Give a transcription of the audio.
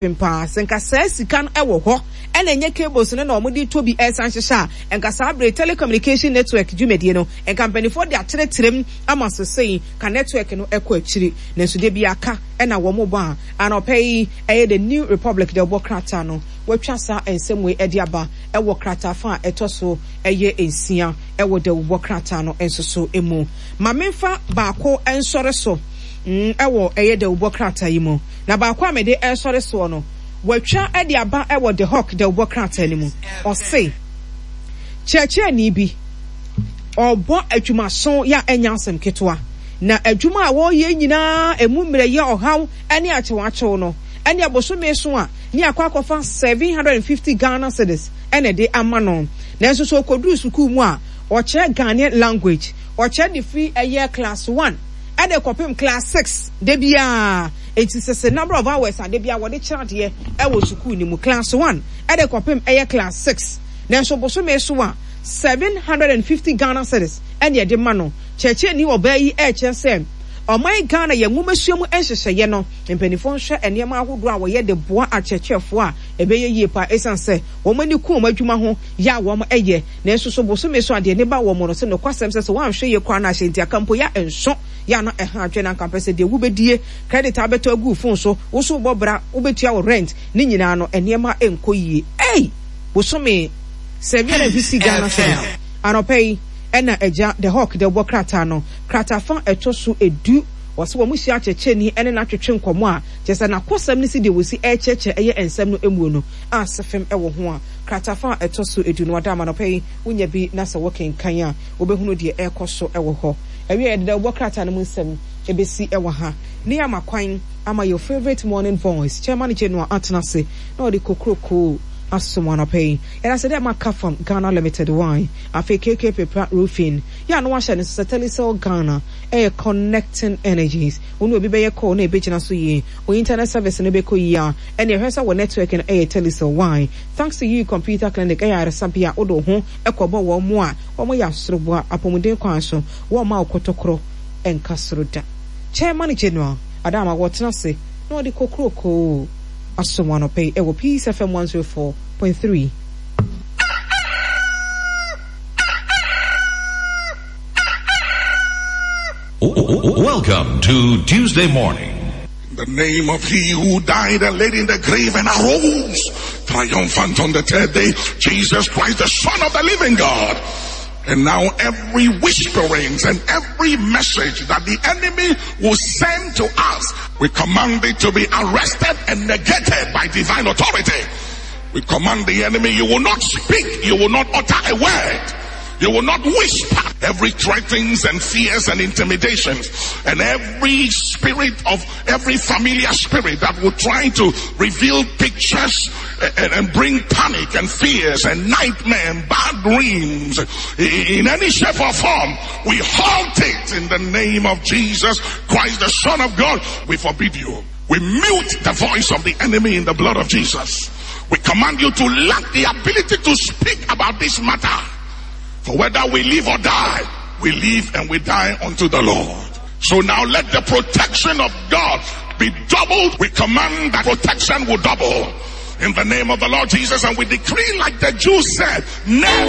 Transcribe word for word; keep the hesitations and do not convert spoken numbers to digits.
Paa sɛ nka saa sika no wɔ hɔ ɛna ɛnyɛ cables no na wɔde tɔ bi ɛsan hyehyɛ a, nka saa bere telecommunication network dwumadie no nka mpanimfoɔ de akyerɛkyerɛ mu ama sesei ka network no ɛkɔ akyiri. Nanso de bi aka ɛna wɔn bɔ a anɔpɛ yi ɛyɛ The New Republic de ɔbɔ krataa no wɔatwa saa nsɛm wei ɛde aba ɛwɔ krataa fa a ɛtɔ so ɛyɛ nsia ɛwɔ dawubɔ krataa no nso so mu. Maame nfa baako nsɔre so ɛwɔ ɛyɛ dawubɔ krataa yi mu, na baako a mede ɛsɔre soɔ no wɔatwa ɛde aba ɛwɔ The Hawk dawubɔ krataa no mu. Ɔse kyerɛkyerɛni bi ɔbɔ adwumaso yɛ a ɛnya asɛm ketewa, na adwuma a wɔreyɛ nyinaa emu mmerɛ yɛ ɔhaw ɛne akyewakyew no ɛne abosome so a ne akɔ akɔfa seven hundred and fifty Ghana cedis ɛna ɛde ama no. Nanso so okoduru sukuu mu a ɔkyerɛ Ghanaian language, ɔkyerɛ de firi ɛyɛ class one ɛde kɔpem class six de bia. Eti sɛ number of hours a de bia wɔde kyerɛ adeɛ ɛwɔ sukuu ne mu, class one ɛde kɔpem ɛyɛ class six, nanso bosome so a seven hundred and fifty Ghana cedis ɛne ɛde ma no. Kyerɛkyerɛni ɔbaa yi ɛrekyerɛ sɛ ɔman Ghana yɛ nwomasua mu nhyehyɛeɛ no, mpanimfoɔ nhwɛ nneɛma ahodoɔ a wɔyɛ de boa akyerɛkyerɛfoɔ a ɛbɛyɛ yie paa, ɛsiane sɛ wɔn ani ku wɔn adwuma ho yɛ a wɔn ɛyɛ. Nanso so bosome so adeɛ ne ba wɔn no sɛ nokwasɛm sɛ sɛ wɔanhwɛ yie koraa no ahyɛ nti aka mpo yɛ nso yɛ ano ɛha adwene anka mpɛ sɛ deɛ wobɛdie, credit abɛtɔ agu phone so, wo so wobɔ bra, wobɛtua wo rent ne nyinaa no, nneɛma nkɔ yie. Ei, bosome seven hundred and fifty Ghana cedis. Anɔpɛ yi ɛna agya The Hawk de bɔ krataa no krataa fa ɛtɔ so edu. Wɔsɛ wɔn hyia akyerɛkyerɛni ɛne n'atwetwe nkɔmɔ a kyerɛ sɛ n'akɔsɛm ne si deɛ wɔsi ɛrekyerɛkyerɛ ɛyɛ nsɛm no emu no a sɛfɛm ɛwɔ ho a krataa fa ɛtɔ so edu no wada ama. Anɔpɛ yi wonya bi na sɛ wɔkenkan a wobɛhunu deɛ ɛrekɔ so ɛwɔ hɔ. Ɛwi yɛdeda wɔ krataa no mu nsɛm ebesi ɛwɔ ha ne ama kwan ama your favourite morning voice, Chairman General, atena ase na ɔde kokroko asom anɔpɛ yi. Yɛda sɛ dɛ maka from Ghana Limited wine, afei K K Pepra Roofing yɛ ano ahyɛ no sɛ Telecel Ghana ɛyɛ connecting energies. Wɔn obi bɛyɛ call na ebɛgyina so yie, o internet service no bɛkɔ yie a ɛne ɛhwɛ sɛ wɔ network no ɛyɛ Telecel wine. Thanks to You Computer Clinic, ɛyɛ aresabea wode ho ɛkɔbɔ wɔn mo a wɔn yɛ asoroboa apɔmuden kwan so wɔn ma ɔkɔtɔkorɔ ɛnka soro da. Chairman General Adama wɔtena ase na ɔde kokroko asom anɔpɛ yi ɛwɔ Peace F M one oh four point three. Welcome to Tuesday morning. In the name of he who died and laid in the grave and arose triumphant on the third day, Jesus Christ, the Son of the living God. And now every whisperings and every message that the enemy will send to us, we command it to be arrested and negated by divine authority. We command the enemy, you will not speak, you will not utter a word. You will not whisper. Every threatenings and fears and intimidations and every spirit of every familiar spirit that will try to reveal pictures and, and bring panic and fears and nightmare and bad dreams in any shape or form, we halt it in the name of Jesus Christ, the Son of God. We forbid you. We mute the voice of the enemy in the blood of Jesus. We command you to lack the ability to speak about this matter. For whether we live or die, we live and we die unto the Lord. So now let the protection of God be doubled. We command that protection will double in the name of the Lord Jesus, and we decree, like the Jews said, never